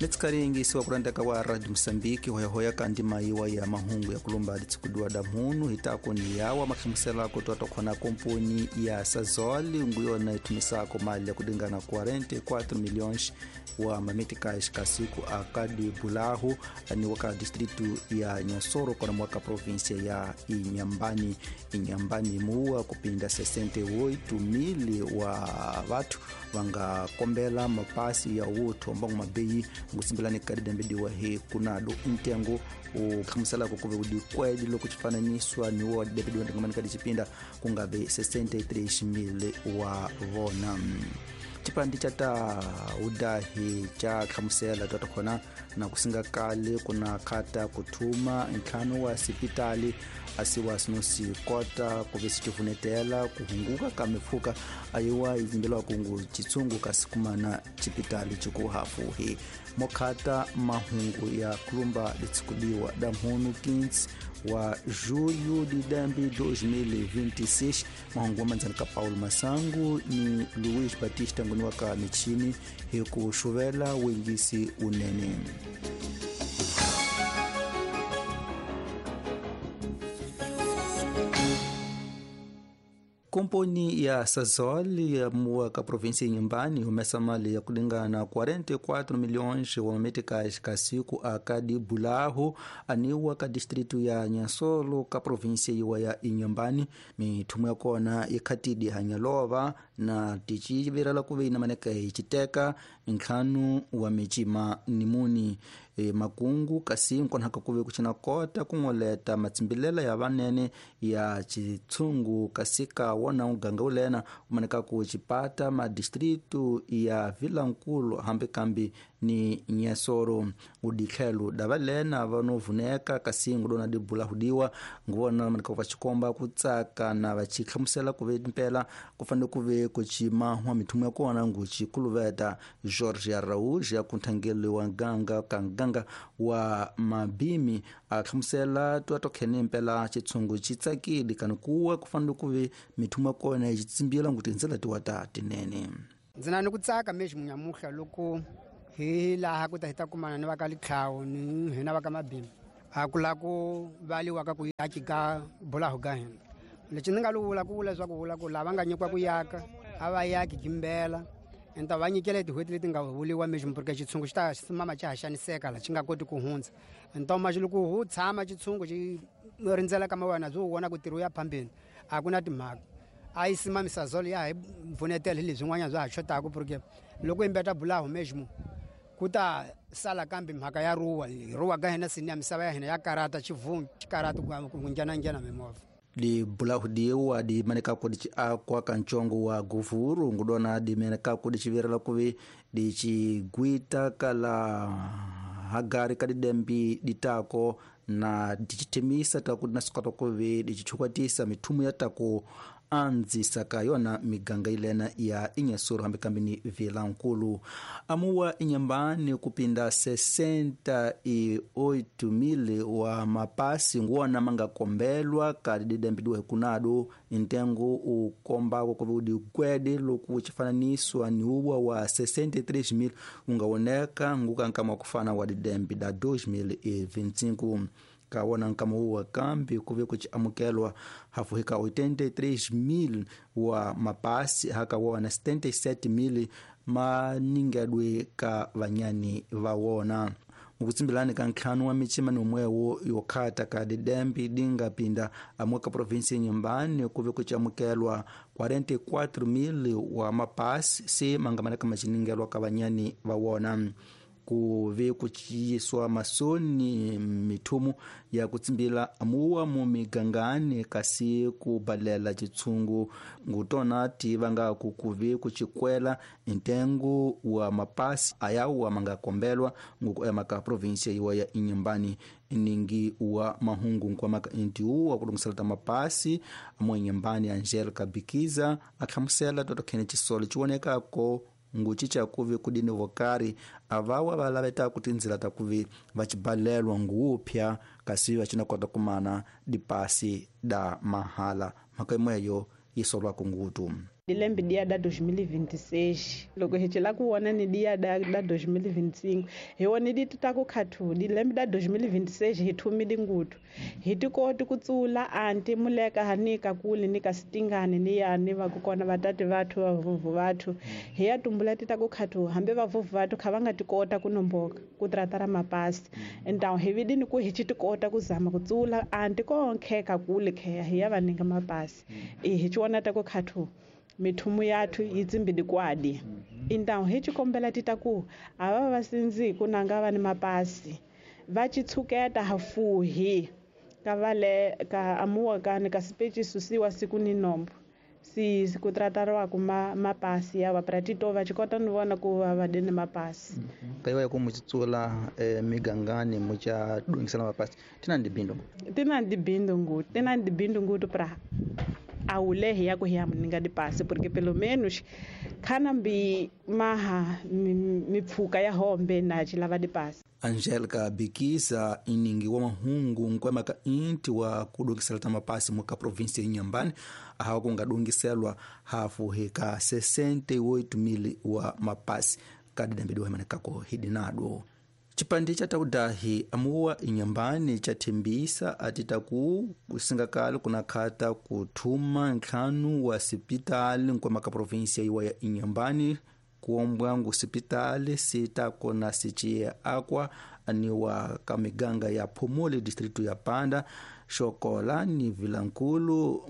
Netsikaringisiwa kurandaka wa Radio Mosambiki hoyahoya kandi mayiwa ya mahungu ya kulumba litsukudiwa da mhunu hitako ni yawa makhimuselako twatokhona komponi ya Sasol nguyona ithumisako mali ya kudingana 44 milhões wa mameticais kasiku akadi bulahu ni waka distritu ya Nhansoro kona mwaka província ya Inhambane. Inhambane muwa kupinda 68,000 wa vatu vangakombela mapasi ya wuthu mbangu mabeyi ngusimbilani kadidambediwa hi kunado ntengo ukhamuselako kuve udikwedi loku cifananiswa niwo wadidambediwa ntengamani kadi cipinda kungave 63,000 wa vona. Cipandi ca ta udahi ca khamusela twatokhona na kusinga kale kuna khata kuthuma ntlhanu wa sipitali asiwa sinosikota kuve sicivunetela kuhunguka ka mipfhuka ayiwa izimbelwa kungu citsungu kasi kumana cipitali cikuhafuhi mokhata mahungu ya kulumba litsikudiwa da mhunu 15 wa julho de dembe 2026. Mahungu wa manzani ka Paulo Masangu ni Luiz Batista nguni waka michini hi ku xuvela wengisi unene. Komponi ya Sasol ya muwa ka província Inhambane humesa mali ya kulingana 44 milhões wa meticais kasiku akadi bulahu aniwa ka distrito ya Nhansolo ka província iwa ya Inhambane. Mithumu ya kona ikhatidi hanyalova na ticivirela kuve inamaneka iciteka ntlhanu wa micima nimuni makungu kasi nkonhaka kuve kucina kota kung'oleta matsimbilela ya vanene ya chitsungu kasi ka wona uganga ulena umaneka ku cipata madistritu ya Vilankulu hambi kambi ni Nhansoro. Udikhelo dava lena vanovuneka kasi ngudona dibula hudiwa nguvona maneka vacikomba kutsaka na vacikhamusela kuve mpela kufanele kuve kucimahwa mithumu ya kona ngucikuluveta Jorge Araújo ya kunthangeli wa ganga ka ganga wa mabimi akhamusela twatokhene mpela chitsungu citsakile kani kuwa kufanele kuve mithumu ya kona yitsimbila nguti ndzela tiwa ta tinene. Ndzi na ni ku tsaka mexi munyamuhla loko hi laha ku ta hi ta kumana ni va ka Litlhawu ni hina va ka Mabimi a ku la ku valiwa ka ku yaki ka bulahu ka hina. Lexi ni nga lu vula ku vula leswaku vula ku lava nga nyikiwa ku yaka a va yaki kimbela enta va nyikela tin'hweti leti nga vuliwa mexi porque xitshungu xi ta simama xa ha xaniseka la xi nga koti ku hundza. Ntoma xi loko hu tshama xitshungu xi rindzela ka mawena byi wu vona ku tirhi wu ya phambeni a ku na timhaka. A yi simamisa zolo ya hi pfunetela hi leswin'wanyana bya ha xotaka porque loko yimbeta bulahu meximo ku ta sala kambe mhaka ya ruwa ruwa ka hina sini ya misava ya hina ya karata xivungu xi karata ku nghena mimovha. Dibulahu diwa dimaneka ku dici akwa ka ncongo wa guvuru ngudona dimeneka ku dicivirela kuve dicigwita kala hagari ka didembi ditako na dicitemisa taku dinasukata kuve dicichukwatisa mithumu ya taku anzisa ka yona miganga ilena ya Inhansoro hambi kambi ni Vilankulu. Amuwa Inhambane kupinda 68,000 wa mapasi nguona mangakombelwa ka didembidiwa hikunado ntengo ukombako kuve udikwede loku cifananiswa ni uwa wa 63,000 ungaoneka ngukankama kufana wa didembi da 2025. Kawona nkama uwa kambi kuve kuciamukelwa hafu hika 83,000 wa mapasi haka wona 77,000 maningedwe ka vanyani va wona. Mukutsimbilani ka ntlhanu wa micima nomwewo yokhata ka didembi dingapinda amwe ka província Inhambane kuve kuciamukelwa 44,000 wa mapasi se mangamaneka maciningelwa ka vanyani va wona. Kuve kuciyiswa masoni mithumu ya kutsimbila amuwa mu migangani kasi kubalela citsungu ngutona ti vangaku kuve kucikwela ntengo wa mapasi ayawa mangakombelwa nguku emaka província iwa ya Inhambane. Ningi wa mahungu nkwamaka intiuwa kulungisela ta mapasi amu Inhambane Angelica Bikiza akhamusela totokhene cisolo ciwonekako ngucica kuve kudini vokari avawa valaveta kuti ndzila ta kuve vacibalelwa nguupya kasi vacinakota kumana dipasi da mahala mhaka imweyo yi solwako ngutu. Dilembe dia da 2026 loko hi cela ku vona ni dia da 2025 hi wona di ta ku khathu dilembe da 2026 hi thumile ngutu hi tikoti ku tsula anti muleka hanika kule ni ka sitingani ni ya ni va ku kona vatati vathu va vuvu vathu hi ya tumbula ti ta ku khathu hambi va vuvu vathu kha va nga tikota ku nomboka ku tratara mapasi então hi vidini ku hi ci tikota ku zama ku tsula anti ko nkheka kule khe hi ya va ninga mapasi hi ci wona ta ku khathu mithumu yathu yi tsimbidi kwadi então hi xikombela ti ta ku a va va sindzi ku nanga va ni mapasi va ci tshuketa hafuhi ka vale ka amuwa ka ni ka sipechi susiwa siku ni nombo si ku tratariwa ku mapasi ya va pratito va ci kota ni vona ku va va dini mapasi kaiwa ku muchitsula migangani mucha dungisela mapasi tina ndi bindo tina ndi bindo ngu tina ndi bindo ngu pra awulehi ya ku hi ya muninga dipasi porque pelo menos khana mbi maha mipfuka ya hombe na chilava dipasi. Angelica Bikiza iningi wa mahungu nkwema ka inti wa kudungisela ta mapasi muka provinsi ya Inhambane ahawa kungadungiselwa hafu heka 68,000 wa mapasi kadidambidiwa himanekako hidinado. Chipande cha taudahi amuwa Inhambane chathembisa atitaku kusingakali kunakhata kuthuma ntlhanu wa sipitali nkwema ka provinsia iwa ya Inhambane kuombwa ngu sipitali sitakona siciye akwa aniwa ka miganga ya Phumuli distritu ya Panda Xokola ni Vilankulu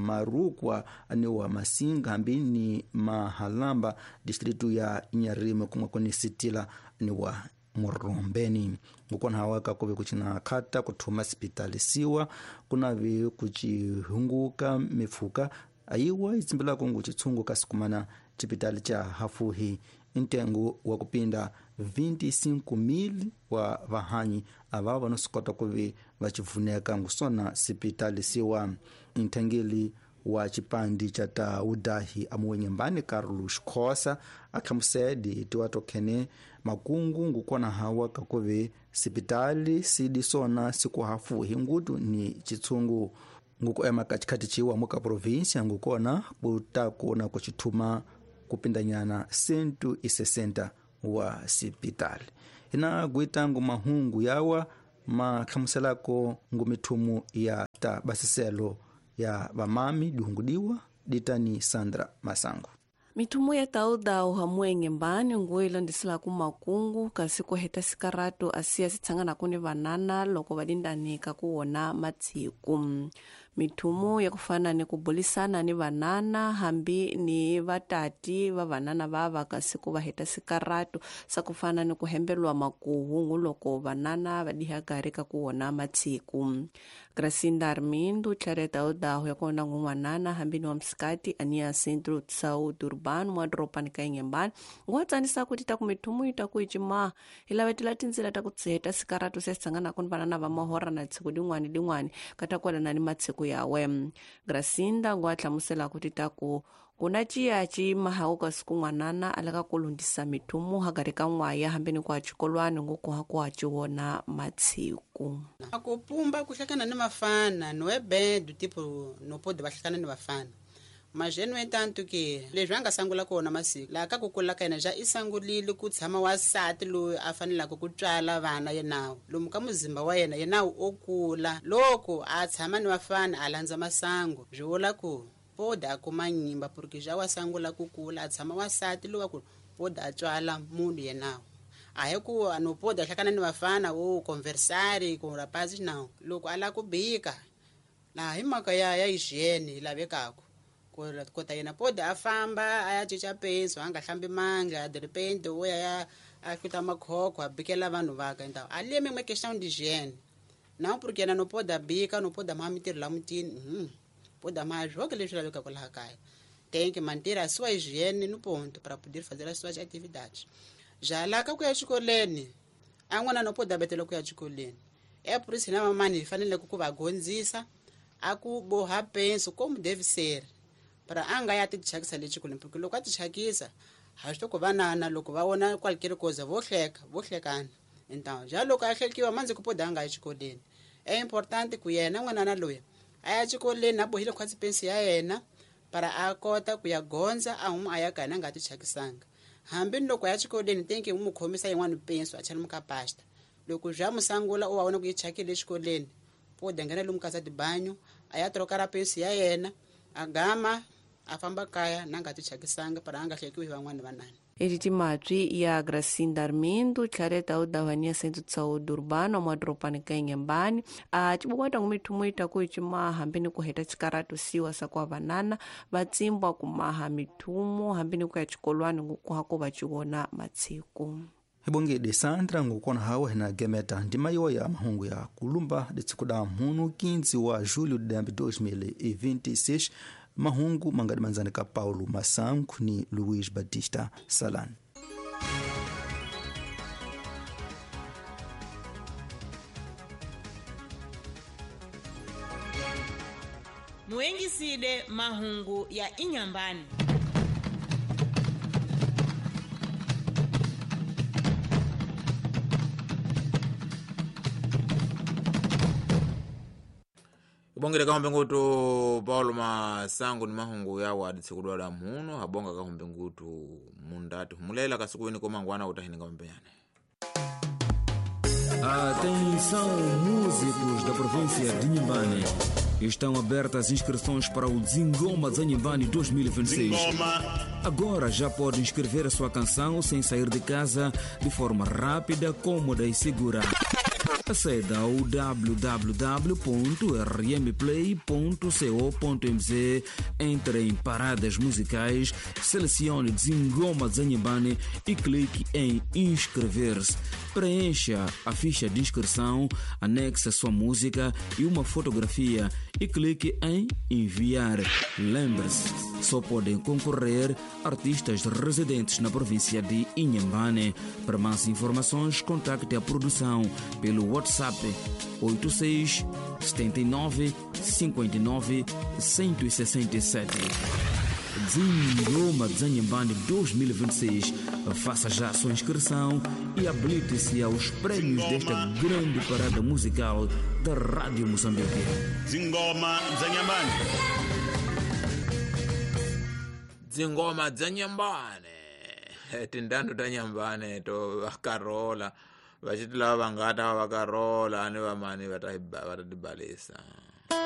Marukwa aniwa Masinga hambi ni Mahalamba distritu ya Inharime kumwe kuni sitila aniwa Murombeni. Ngukona hawaka kuve kuchina khata kuthuma sipitali siwa kunavi kuchihunguka mifuka ayiwa itsimbelako ngu chitsungu kasikumana chipitali cha hafuhi ntengo wa kupinda 25,000 wa vahanyi ava vanosukota kuve vachivuneka ngusona sipitali siwa. Nthengeli wa chipandi cha taudahi amuwe Inhambane Carlos Khosa akhamusedi tiwatokhene makungu ngukona hawa kakuve sipitali sidi sona sikuhafuhi ngutu ni chitsungu ngukuema katikati chiwa muka provinsia ngukona kutakona kuchithuma kupindanyana 160 wa sipitali. Ina guitangu mahungu yawa makhamuselako ngumithumu ya ta basiselo ya vamami dihungudiwa ditani Sandra Masango. Mithumu ya taudau hamwe Inhambane nguo ilandiselaku makungu kasi kuheta sikaratu asiya sitshanganaku ni vanana loko va dindanika kuwona matsiku. Mithumu ya kufana ni kubulisana ni vanana hambi ni vatati va vanana vava kasi ku va heta sikaratu sa kufana ni kuhembelwa makuhungu loko vanana va diha gari ka kuwona matsiku. Gracinda Armindo tlhare taudau ya kona ngun'wanana hambi ni wa msikati ania Centro de Saúde Urbano mwa doropani ka Inhambane nguwa tsanisa kuti ta ku mithumu yi ta ku yi cimaha hi lavetela tindzila ta ku tsiheta sikaratu se sitshanganaku ni vanana va mahora na tshiku din'wani din'wani ka ta kwalana ni matshiku yawe. Gracinda nguwa hlamusela kuti ta ku kuna ciya ci mahawu ka siku n'wanana a lava ku lundzisa mithumu hagari ka n'waya hambi ni ku ha xikolwani nguku ha ku ha ci wona matshiku. A ku pumba ku hlekana ni vafana no é bem do tipo no pode va hlekana ni vafana mas no entanto que leswi a nga sangula kona masiku laha ka ku kula ka yena ja i sangulile ku tshama wasati loyi a fanelaka ku tswala vana yenawu lomu ka muzimba wa yena yenawu o kula loko a tshama ni vafana a landza masangu byi vula ku pode a kuma nyimba porque ja wa sangula ku kula a tshama wasati loyi wa ku pode a tswala munhu yenawu a hi ku no pode a hlakana ni vafana o conversare com rapazes não loko a lava ku bika laha hi mhaka ya hygiene yi lavekaka kota yena pode a famba a ya cinca penso a nga hlambi mandla de repente o ya a hluta makhokho a bikela vanhu vaka então ali é mesmo questão de higiene não porque yena no pode a bika no pode amar mintirho la mutini pode amar jogo leswi lavekaka laha kaya tem que manter a sua higiene no ponto para poder fazer as suas atividades já lá ka ku ya xikolweni a n'wana no pode a betela ku ya xikolweni é por isso na mamani hi fanele ku va gondzisa a ku boha penso como deve ser para a nga ya ti thyakisa le xikolweni porque loko a ti thyakisa ha swi ku vanana loko va vona qualquer coisa vo hleka vo hlekana então já loko a hlekiwa mandzi ku poda a nga yi xikolweni é importante ku yena n'wanana loyi a ya xikolweni a bohile khwatsi pensi ya yena Para a kota ku ya gondza a huma a ya kaya na nga ti chakisanga. Hambi loko ya xikolweni tenke u mu khomisa yin'wana penso a chela muka pasta. Loko bya musangula u wa vona ku yi chakile exikolweni, pode nghena lomu ka tibanyo a ya troka ra penso ya yena a gama a famba kaya na nga ti chakisanga para a nga hlekiwi hi van'wana vanani. Editi Matwi ya Gracinda Armindo, Clareta Udavania Centro de Saúde Urbano, mwadropani ka Inhambane, a cibukwata ngumithumo itaku icimaha hambi ni kuheta cikaratu siwa sa kwa vanana vatsimbwa kumaha mithumo hambi ni kuya cikolwani ngukuhako vaciwona matsiku. Hibongede Sandra ngukona hawa hina gemeta ndima yoya mahungu ya kulumba ditsikuda mhunu 15 wa julho de 2026 mahungu mangadi manzani ka Paulo Masangu ni Luiz Batista Salan. Muengisile mahungu ya Inhambane. Ibongere kahombe ngutu Paulo Masangu ni mahungu yawo aditsikudwala muno habonga kahombe ngutu mundati humulela kasukuweni komangwana utahininga mpenyane. Atenção, músicos da província de Inhambane. Estão abertas inscrições para o Zingoma Zanhambane 2026. Zingoma. Agora já pode inscrever a sua canção sem sair de casa, de forma rápida, cômoda e segura. Aceda ao www.rmplay.co.mz, entre em paradas musicais, selecione Zingoma Zanhambane e clique em inscrever-se. Preencha a ficha de inscrição, anexe a sua música e uma fotografia e clique em enviar. Lembre-se, só podem concorrer artistas residentes na província de Inhambane. Para mais informações, contacte a produção pelo WhatsApp 86 79 59 167. Zingoma Zanhambane 2026. Faça já a sua inscrição e habilite-se aos prêmios desta grande parada musical da Rádio Moçambique. Zingoma Zanhambane. Zingoma Zanhambane. Tindanu tanyambane to vakarola. Vachiti lava vangata vakarola ani vamani vatatibalisa.